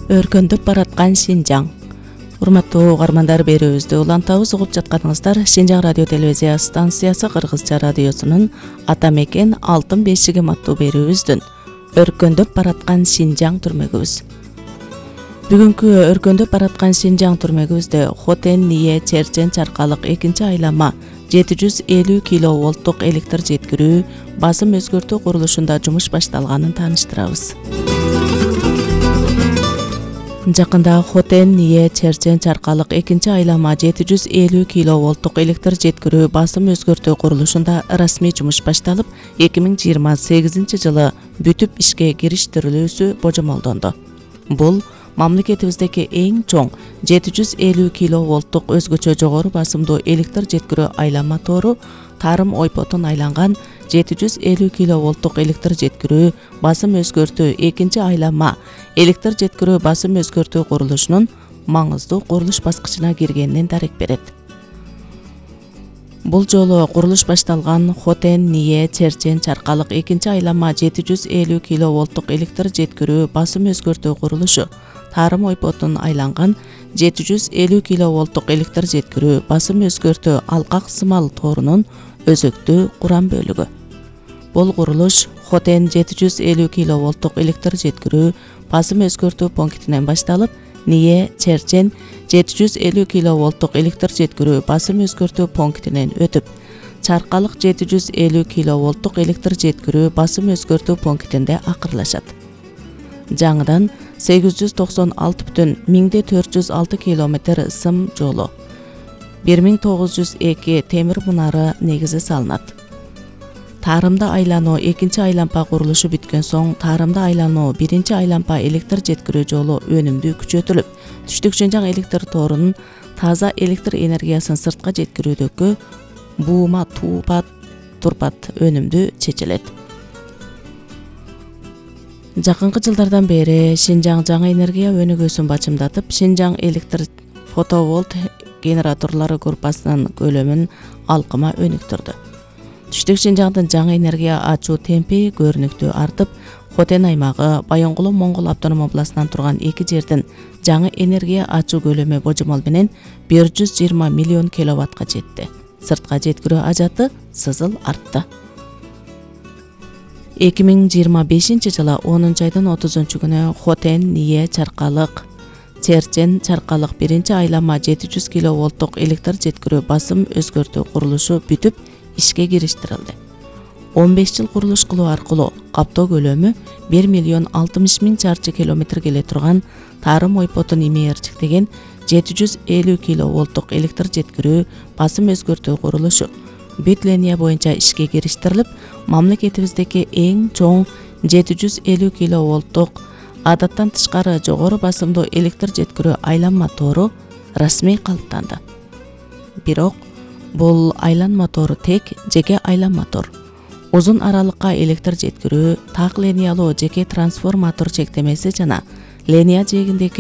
Өркөндөп бараткан Шинжаң. Урматтуу угармандар, берүүбүздү улантабыз. Угуп жатканыңыздар Шинжаң радио телевизия станциясы Кыргызча радиосунун Ата мекен алтын бешиги аттуу берүүбүздүн Өркөндөп бараткан Шинжаң түрмөгүбүз. Бүгүнкү өркөндөп бараткан Шинжаң түрмөгүбүздө Хотен Ние Черчен Чаркалык 2-айлама 750 киловолттук электр жеткирүү басым өзгөртүү курулушунда жумуш башталганын тааныштырабыз. Жакында Хотен Ние Черчен Чаркалык 2-айлама 750 киловолттук электр жеткирүү басым өзгөртүү курулушунда расмий жумуш башталып, 2028 жылы бүтүп ишке кириштирилүүсү божомолдонду. Бул мамлекетибиздеги эң чоң 750 киловолттук өзгөчө жогору басымдуу электр жеткирүү айланма тору тарым ойпотун айланган 750 киловолттук электр жеткирүү басым өзгөртүү 2-айланма электр жеткирүү басым өзгөртүү курулушунун маңыздуу курулуш баскычына киргенинен дарек берет. Бул жолу курулуш башталган Хотен Ние Черчен Чаркалык 2-айлама 750 киловолттук электр жеткирүү басым өзгөртүү курулушу тарым ойпотун айланган 750 киловолттук электр жеткирүү басым өзгөртүү алкак сымал торунун өзөктүү курам бөлүгү. Бул курулуш Хотен 750 киловолттук электр жеткирүү басым өзгөртүү пунктинен башталып, Ние Черчен 750 киловолттук электр жеткирүү басым өзгөртүү пунктинен өтүп, Чаркалык 750 киловолттук электр жеткирүү басым өзгөртүү пунктинде акырлашат. Жаңыдан 896,1406 километр сым жолу, 1902 темир мунары негизи салынат. Тарымда айлануу 2-айлампа курулушу бүткөн соң, тарымда айлануу 1-айлампа электр жеткирүү жолу өнүмдүү күчөтүлүп, түштүк Шинжаң электр торунун таза электр энергиясын сыртка жеткирүүдөгү буума турпат өнүмдүү чечилет. Жакынкы жылдардан бери Шинжаң жаңы энергия өнүгүүсүн бачымдатып, Шинжаң электр фотоволт генераторлору группасынын көлөмүн алкыма өнүктүрдү. Түштүк Шинжаңдын жаңы энергия ачуу темпи көрүнүктүү артып, Хотен аймагы Байоңгулу Моңгол автоном областынан турган эки жердин жаңы энергия ачуу көлөмү божомол менен 120 миллион киловаттка жетти. Сыртка жеткирүү ажаты сызыл артты. 2025 жылы 10-айдын 30-күнү Хотен Ние Чаркалык Черчен Чаркалык 1-айлама 700 киловолттук электр жеткирүү басым өзгөртүү курулушу бүтүп ишке кириштирилди. 15 жыл курулуш кылуу аркылуу каптоо көлөмү 1,60 чарчы километр келе турган тарым ойпотун имээрчиктеген 750 киловолттук электр жеткирүү басым өзгөртүү курулушу бүт линия боюнча ишке кириштирилип, мамлекетибиздеги эң чоң 750 киловолттук адаттан тышкары жогору басымдуу электр жеткирүү айланма тору расмий калыптанды. Бирок бул айланма тору тек жеке айланма тор. Узун аралыкка электр жеткирүү, так линиялуу жеке трансформатор чектемеси жана линия жээгиндеги